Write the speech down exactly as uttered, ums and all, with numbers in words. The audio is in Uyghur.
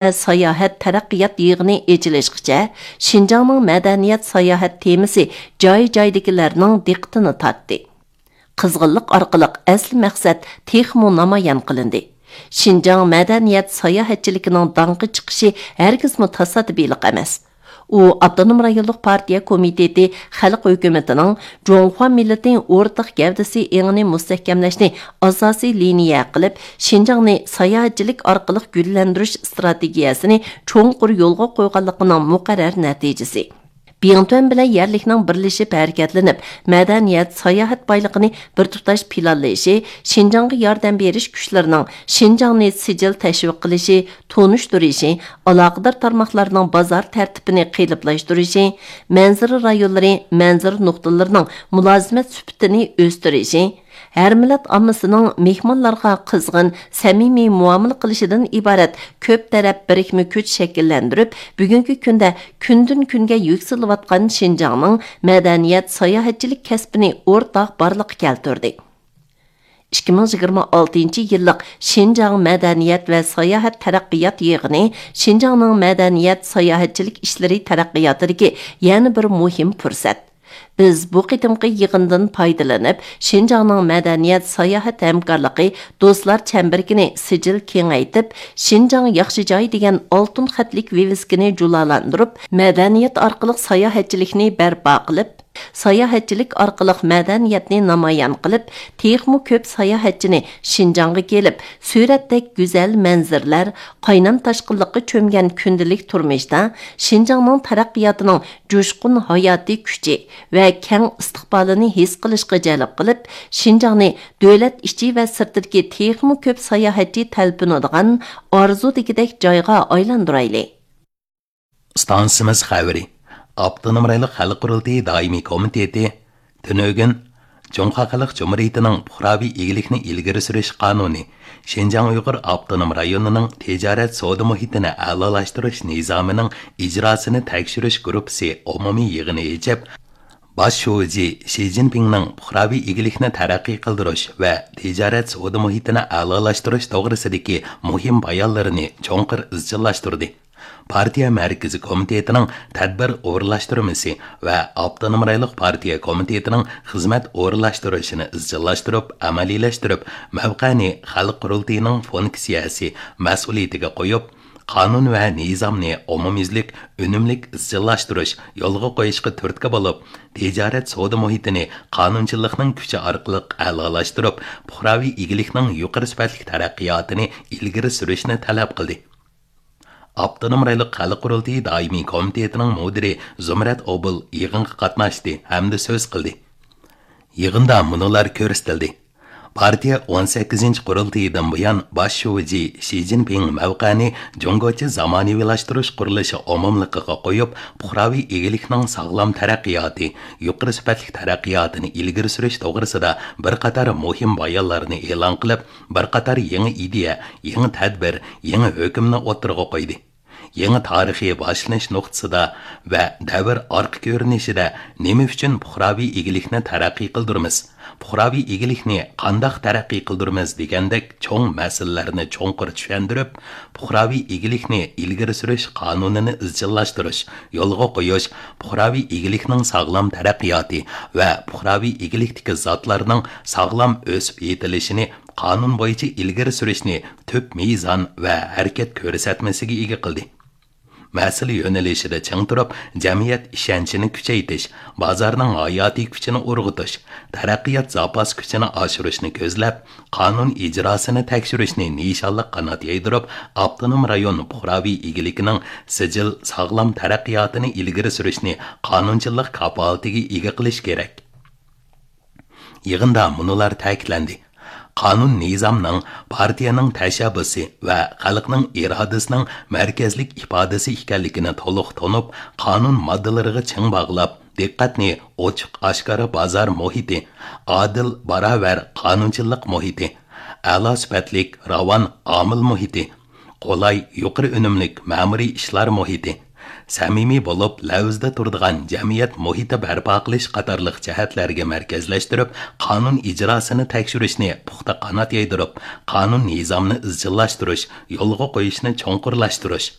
ساياھەت تەرەققىيات يىغىنى ئېچىلىشقىچە شىنجاڭنىڭ مەدەنىيەت ساياھەت تېمىسى جاي-جايدىكىلەرنىڭ دىققىتىنى تارتتى. قىزغىنلىق ئارقىلىق ئەسلى مەقسەت تېخىمۇ نامايان قىلىندى. شىنجاڭ مەدەنىيەت ساياھەتچىلىكىنىڭ داڭقى چىقىشى ھەرگىزمۇ تاسادىپىيلىق ئەمەس. ئۇ ئاپتونوم رايونلۇق پارتىيە كومىتېتى خەلق ھۆكۈمىتىنىڭ جۇڭخۇا مىللىتى ئورتاق گەۋدىسى ئېڭىنى مۇستەھكەملەشنى ئاساسىي لىنىيە قىلىپ، شىنجاڭنى ساياھەتچىلىك ئارقىلىق گۈللەندۈرۈش ئىستراتېگىيەسىنى چوڭقۇر يولغا قويغانلىقىنىڭ مۇقەررەر نەتىجىسى. بىڭتۈەن بىلەن يەرلىكنىڭ بىرلىشىپ ھەرىكەتلىنىپ، مەدەنىيەت، ساياھەت بايلىقىنى بىر تۇتاش پىلانلىشى، شىنجاڭغا ياردەم بېرىش كۈچلىرىنىڭ شىنجاڭنى سىجىل تەشۋىق قىلىشى، تونۇشتۇرۇشى، ئالاقىدار تارماقلارنىڭ بازار تەرتىپىنى قېلىپلاشتۇرۇشى، مەنزىرە رايونلىرى، مەنزىرە نۇقتىلىرىنىڭ مۇلازىمەت سۈپىتىنى ئۆستۈرۈشى، ھەر مىللەت ئاممىسىنىڭ مېھمانلارغا قىزغىن، سەمىمىي مۇئامىلە قىلىشىدىن ئىبارەت كۆپ تەرەپ بىرىكمە كۈچ شەكىللەندۈرۈپ، بۈگۈنكى كۈندە كۈندىن كۈنگە يۈكسىلىۋاتقان شىنجاڭنىڭ مەدەنىيەت، ساياھەتچىلىك كەسپىنى ئورتاق بارلىققا كەلتۈردى. ئىككى مىڭ يىگىرمە ئالتىنچى يىللىق شىنجاڭ مەدەنىيەت ۋە ساياھەت تەرەققىيات يىغىنى شىنجاڭنىڭ مەدەنىيەت، ساياھەتچىلىك ئىشلىرى تەرەققىياتىدىكى يەنە بىر مۇھىم پۇرسەت. بىز بۇ قېتىمقى يىغىندىن پايدىلىنىپ، شىنجاڭنىڭ مەدەنىيەت، ساياھەت ھەمكارلىقى دوستلار چەمبىرىكىنى سىجىل كېڭەيتىپ، شىنجاڭ ياخشى جاي دېگەن ئالتۇن خەتلىك ۋىۋىسكىنى جۇلالاندۇرۇپ، مەدەنىيەت ئارقىلىق ساياھەتچىلىكنى بەرپا قىلىپ، ساياھەتچىلىك ئارقىلىق مەدەنىيەتنى نامايان قىلىپ، تېخىمۇ كۆپ ساياھەتچىنى شىنجاڭغا كېلىپ، سۈرەتتەك گۈزەل مەنزىرىلەر، قاينام تاشقىنلىققا چۆمگەن كۈندىلىك تۇرمۇشتا شىنجاڭنىڭ تەرەققىياتىنىڭ جۇشقۇن ھاياتىي كۈچى ۋە كەڭ ئىستىقبالىنى ھېس قىلىشقا جەلپ قىلىپ، شىنجاڭنى دۆلەت ئىچى ۋە سىرتىدىكى تېخىمۇ كۆپ ساياھەتچى تەلپۈنىدىغان ئارزۇدىكىدەك جايغا ئايلاندۇرايلى. ئىستانسىمىز خەۋىرى. ئاپتونوم رايونلۇق خەلق قۇرۇلتىيى دائىمىي كومىتېتى تۈنۈگۈن جۇڭخۇا خەلق جۇمھۇرىيىتىنىڭ پۇقراۋى ئىگىلىكنى ئىلگىرى سۈرۈش قانۇنى، شىنجاڭ ئۇيغۇر ئاپتونوم رايونىنىڭ تىجارەت سودا مۇھىتىنى ئەلالاشتۇرۇش نىزامىنىڭ ئىجراسىنى تەكشۈرۈش گۇرۇپپىسى ئومۇمىي يىغىنى ئېچىپ، باش شۇجى شى جىنپىڭنىڭ پۇقراۋى ئىگىلىكنى تەرەققىي قىلدۇرۇش ۋە تىجارەت سودا مۇھىتىنى ئەلالاشتۇرۇش توغرىسىدىكى مۇھىم بايانلىرىنى چوڭقۇر ئىزچىللاشتۇردى. پارتىيە مەركىزىي كومىتېتىنىڭ تەدبىر ئورۇنلاشتۇرمىسى ۋە ئاپتونوم رايونلۇق پارتىيە كومىتېتىنىڭ خىزمەت ئورۇنلاشتۇرۇشىنى ئىزچىللاشتۇرۇپ، ئەمەلىيلەشتۈرۈپ، مەۋقەنى خەلق قۇرۇلتىيىنىڭ فۇنكسىيەسى، مەسئۇلىيىتىگە قويۇپ، قانۇن ۋە نىزامنى ئومۇميۈزلۈك، ئۈنۈملۈك ئىزچىللاشتۇرۇش، يولغا قويۇشقا تۈرتكە بولۇپ، تىجارەت سودا مۇھىتىنى قانۇنچىلىقنىڭ كۈچى ئارقىلىق ئەلالاشتۇرۇپ، پۇقراۋى ئىگىلىكنىڭ يۇقىرى سۈپەتلىك تەرەققىياتىنى ئىلگىرى سۈرۈشنى تەلەپ قىلدى. ئاپتونوم رايونلۇق خەلق قۇرۇلتىيى دائىمىي كومىتېتىنىڭ مۇدىرى زۇمرەت ئوبۇل يىغىنغا قاتناشتى ھەمدە سۆز قىلدى. يىغىندا مۇنۇلار كۆرسىتىلدى. پارتىيە ئون سەككىزىنچى قۇرۇلتىيىدىن بۇيان باش شۇجى شى جىنپىڭ مەۋقەنى جۇڭگوچە زامانىۋىلاشتۇرۇش قۇرۇلۇشى ئومۇملۇقىغا قويۇپ، پۇقراۋى ئىگىلىكنىڭ ساغلام تەرەققىياتى، يۇقىرى سۈپەتلىك تەرەققىياتىنى ئىلگىرى سۈرۈش توغرىسىدا بىر قاتار مۇھىم بايانلارنى ئېلان قىلىپ، بىر قاتار يېڭى ئىدىيە، يېڭى تەدبىر، يېڭى ھۆكۈمنى ئوتتۇرىغا قويدى. يېڭى تارىخىي باشلىنىش نۇقتىسىدا ۋە دەۋر ئارقا كۆرۈنۈشىدە نېمە ئۈچۈن پۇقراۋى ئىگىلىكنى تەرەققىي قىلدۇرىمىز؟ پۇقراۋى ئىگىلىكنى قانداق تەرەققىي قىلدۇرىمىز دېگەندەك چوڭ مەسىلىلەرنى چوڭقۇر چۈشەندۈرۈپ، پۇقراۋى ئىگىلىكنى ئىلگىرى سۈرۈش قانۇنىنى ئىزچىللاشتۇرۇش، يولغا قويۇش، پۇقراۋى ئىگىلىكنىڭ ساغلام تەرەققىياتى ۋە پۇقراۋى ئىگىلىكتىكى زاتلارنىڭ ساغلام ئۆسۈپ يېتىلىشىنى قانۇن بويىچە ئىلگىرى سۈرۈشنى تۈپ مىزان ۋە ھەرىكەت كۆرسەتمىسىگە ئىگە قىلدى. مەسىلە يۆنىلىشىدە چىڭ تۇرۇپ، جەمئىيەت ئىشەنچىنى كۈچەيتىش، بازارنىڭ ھاياتىي كۈچىنى ئۇرغۇتۇش، تەرەققىيات زاپاس كۈچىنى ئاشۇرۇشنى كۆزلەپ، قانۇن ئىجراسىنى تەكشۈرۈشنى نىشانلىق قانات يايدۇرۇپ، ئاپتونوم رايون پۇقراۋى ئىگىلىكىنىڭ سىجىل، ساغلام تەرەققىياتىنى ئىلگىرى سۈرۈشنى قانۇنچىلىق كاپالىتىگە ئىگە قىلىش كېرەك. يىغىندا مۇنۇلار تەكىتلەندى: قانۇن نىزامنىڭ، پارتىيەنىڭ تەشەببۇسى ۋە خەلقنىڭ ئىرادىسىنىڭ مەركەزلىك ئىپادىسى ئىكەنلىكىنى تولۇق تونۇپ، قانۇن ماددىلىرىغا چىڭ باغلاپ، دىققەتنى ئوچۇق ئاشكارا بازار مۇھىتى، ئادىل، باراۋەر قانۇنچىلىق مۇھىتى، ئەلا سۈپەتلىك، راۋان ئامىل مۇھىتى، قولاي، يۇقىرى ئۈنۈملۈك مەمۇرىي ئىشلار مۇھىتى، سەمىمىي بولۇپ، لەۋزىدە تۇرىدىغان جەمئىيەت مۇھىتى بەرپا قىلىش قاتارلىق جەھەتلەرگە مەركەزلەشتۈرۈپ، قانۇن ئىجراسىنى تەكشۈرۈشنى پۇختا قانات يايدۇرۇپ، قانۇن نىزامنى ئىزچىللاشتۇرۇش، يولغا قويۇشنى چوڭقۇرلاشتۇرۇش،